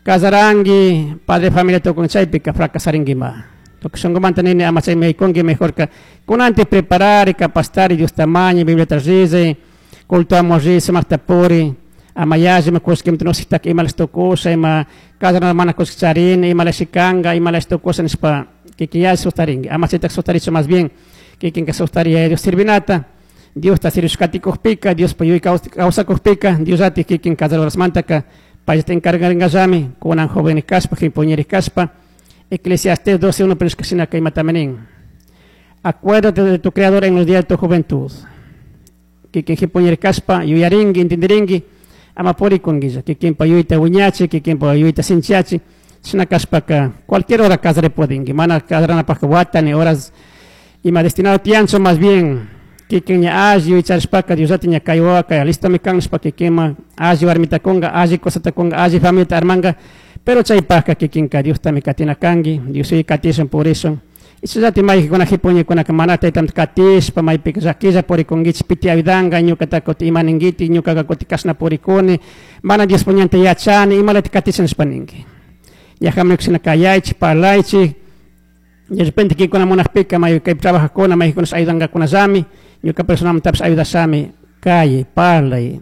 Casarangi, padre familia tukun chaypika fracasaringuima. Tukuy shunqumanta nini ama chaymi yaykunki, mejorka kunanti preparari, capacitari, Diosta mañay, Bibliata rizay, cultoamun ri, sumaqta puri, ama yalli ima kullkimanta nusiktaka imalash tukusha, ima casarana mana kullki charini, imalashi kanka, imalashi tukusha nishpa kikin yalli sustarinki. Ama chaytaka sustarichu, más bien kikinka sustari Yaya Dios sirvinata, Diosta sirvishkatikukpika, Diospa yuyay kawsakukpika, Diosllatik kikin casarasmantaka payllata encargaringallami, kunan jóvenes kashpa, jimpuñeris kashpa. Eclesiastés 12.1 pero shinaka imatami nin. Acuérdate de tu creador en los días de tu juventud. Kikin jimpuñeri kashpa yuyarinki, entendirinki, ama purikunguilla, kikinpa yuyayta wiñachi, kikinpa yuyayta sinchiyachi, shina kashpaka cualquier hora casari pudinki, mana casaranapakka wata ni horas ima destinado tiyanchu, más bien kikin ña alli yuyacharishpaka Diosllata ña kay wawaka listomi kan nishpa kikinman alli warmita kunga, alli cosata kunga, alli familiata armanga, pero chaypakka kikinka Diostami katina kanki, Dios yuyay katishun purishun. Chayllati mayjikuna jipuñikunaka mana taytamanta katishpa maypika llaquilla purikunkichik, piti ayudanka ñukataka kutin ima ninkitik, ñukaka kutin kashna purikuni, mana Diospa ñanta yachani, imalata katisha nishpa ninki. Ñajaman shina kayaychik, parlaychik, de repente kinkuna munakpika may kaypi trabajajkuna mayjikunash ayudankakunallami, ñuka personalmantapish ayudashami, kayay, parlay,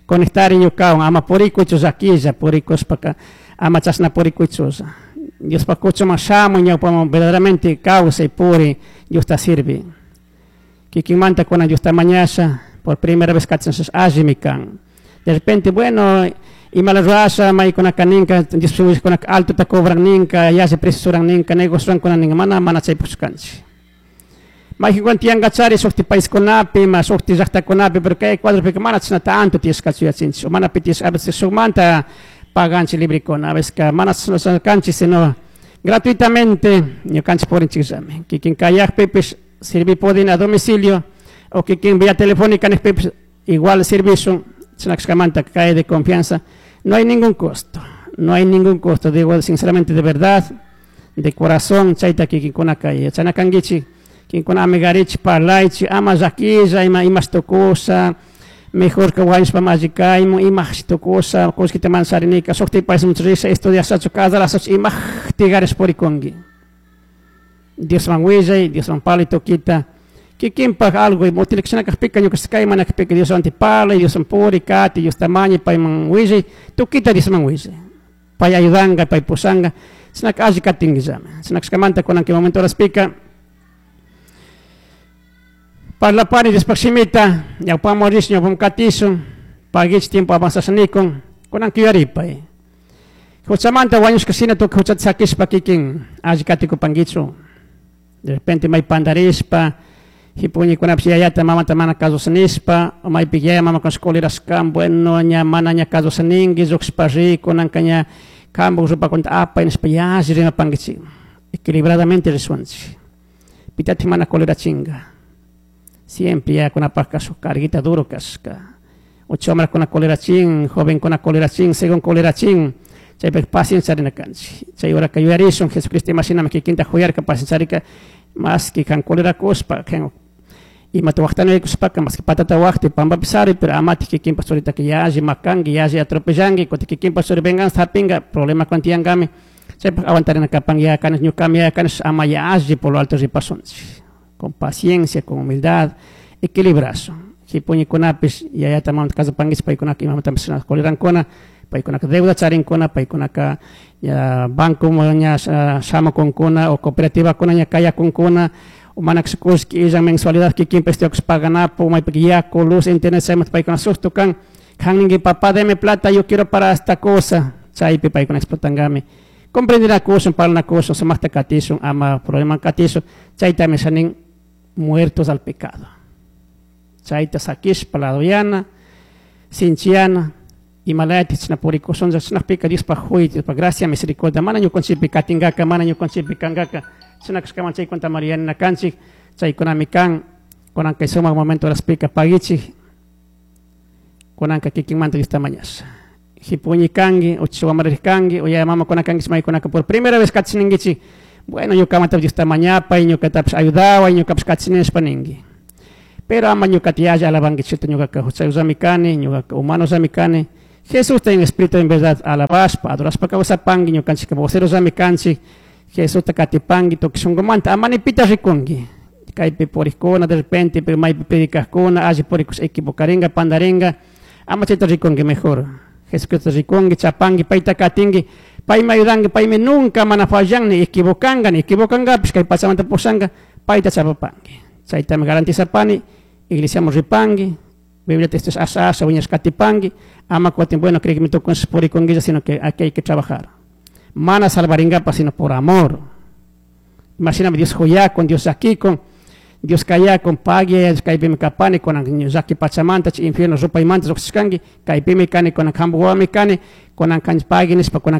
conectari ñukawan, ama purikuychu llaquilla, purikushpaka ama chashna purikuychulla. Diospa kuchuman shamuy ñawpaman verdaderamente kawsay puri Diosta sirvi. Kikinmanta kunan Diosta mañasha por primera vez kachanshas allimi kan. De repente, bueno, imala rurasha maykunaka ninka Diospa willajkunaka altota cobran ninka, yalli precio ninka, negocio rurankuna ninka, mana mana chaypukchu kanchik. Mayjikuna tiyankachari shukti paiskunapi, ima shukti llaktakunapi, pero kay Ecuadorpika mana chashna tanto tiyashkachu yachinchik, o mana pi tiyashka, a veces shukmanta paganchik librikuna, a veces mana chashna kanchik, sino gratuitamente ñukanchik purinchikllami. Kikin kayakpipish sirvi pudin a domicilio, o kikin vía telefónica nijpipish igual servicio, chashna kashkamanta kay de confianza, no hay ningún costo, no hay ningún costo, digo sinceramente de verdad, de corazón, chayta kikinkunaka yachana kankichik, kinkuna amigarichik, parlaychik, ama llaquilla, ima imash tukusha, mejor ka wañushpa alli kaymun, imajshi tukusha, kullkita mana charinika, shukti paisman risha, estudiashachu, casarashachu, imajti garish purikunki. Diosman willay, Diosman parlay tukita, kikinpak algo utilizashna kajpika ñuka kay mana kajpika Dioswan parlay, Dioswan puri, kati, Diosta mañay, payman willay, tukita Diosman willay. Pay ayudanka, pay pushanka, chishnaka alli katinguillami. Chashna kashkamanta kunan kay momento horaspika parlapani Diospak shimita, ñawpaman rishun, ñawpaman katishun, paguich tiempo avanzasha nikun, kunan yuyaripay. Huchamanta wañushka shina tukuy huchata sakishpa kikin alli katikupankichu. De repente may pandarishpa, jipuñikunapish yayata mamata mana kasusha nishpa, o maypika yaya mamakunash colerashkan, bueno, ña mana ña kasusha ninki, llukshpa ri, kunanka ña kanpak rupakunata apay nishpa yalli rimapankichik. Equilibradamente rishwanchik. Pitatik mana colerachinka. Siempre yayakunapakka shuk carguita duro kashka. Ucha wamrakuna colerachin, jovenkuna colerachin, según colerachin, chaypika paciencia charina kanchik. Chay horaka yuyarishun Jesucristo ima shinami kikinta juyarka paciencia más que kan colerakushpa, kan imata waqtanaykushpaka más que patata waqti pampapi sari, pero amati kikinpa churitaka yalli makanki, yalli atropellanki, kutin kikinpa churi venganza hapinka, problema tiyankami, chaypak aguantarina kapan yaya kanish, ñukami yaya kanish, ama yalli por lo alto ripasunchik. Con paciencia, con humildad, equilibrasun. Jipuñikunapish yayata mamata kasupankichik, paykunaka imamantapish colerankuna, paykunaka deuda charinkuna, paykunaka ña banco ña shamukunkuna o cooperativakuna ña kayakunkuna, o mana kullki illan mensualidad kikinpa estudiakush paganapu, maypika yaku, luz, internet, chaymanta paykuna susto kan, kan ninki papá deme plata, yo quiero para esta cosa, chaypi paykuna explotankami. Comprendinakushun, parlanakushun, sumakta katishun, ama problema katishun, chaytami shanin muertos al pecado. Chayta sakishpa ladoyana, sinchiana, imalayati chashna purikushunlla, chashnakpika Diospak juy, Diospak gracia, misericordia, mana ñukanchikpi katingaka, mana ñukanchikpi kankaka, chashna kashkaman chaykunata marianina kanchik, chaykunami kan, kunan kay sumak momento horaspika pagichik, kunanka kikinmanta Diosta mañasha. Jipuñi kanki, uchi wamrarik kanki, o yaya mamakuna kankichik maykunaka por primera vez kachininkichik, bueno, ñukamanta Diosta mañapay, ñukatapish ayudaway, ñukapish kachini nishpa ninki. Pero ama ñukata yalli alabankichikta, ñukaka juchayullami kani, ñukaka humanosllami kani, Jesusta en espíritu en verdad alabashpa, adorashpa kawsapangui, ñukanchik vocerosllami kanchik, Jesusta katipangui, tukuy shunkumanta, ama ni pita rikunki. Kaypi purikkuna, de repente, pero maypi predicajkuna, alli purikush equivocaringa, pandaringa, ama chayta rikunki mejor. Jesucristo rikunki, chapangui, payta katinki, paymi ayudanki, paymi nunca mana fallan, ni equivocanga, ni equivocangapish, kay pachamanta pushanga, payta chapapanki. Chaytami garantizapani, iglesiaman ripangui, Biblia te asha asha wiñash katipangui, ama kutin bueno creek tukunsh purikunguilla, sino que aquí hay que trabajar. Mana salvaringapa, sino por amor. Imagíname Dios con Dios llakikun, Dios kayakun, pagui, kaypimi kapani, kunan llaki pachamanta, infierno rupaymanta lluqshishkanki, kaypimi kani, kunan kampak wawami kani, kunan kanchik pagui nishpa, kunan.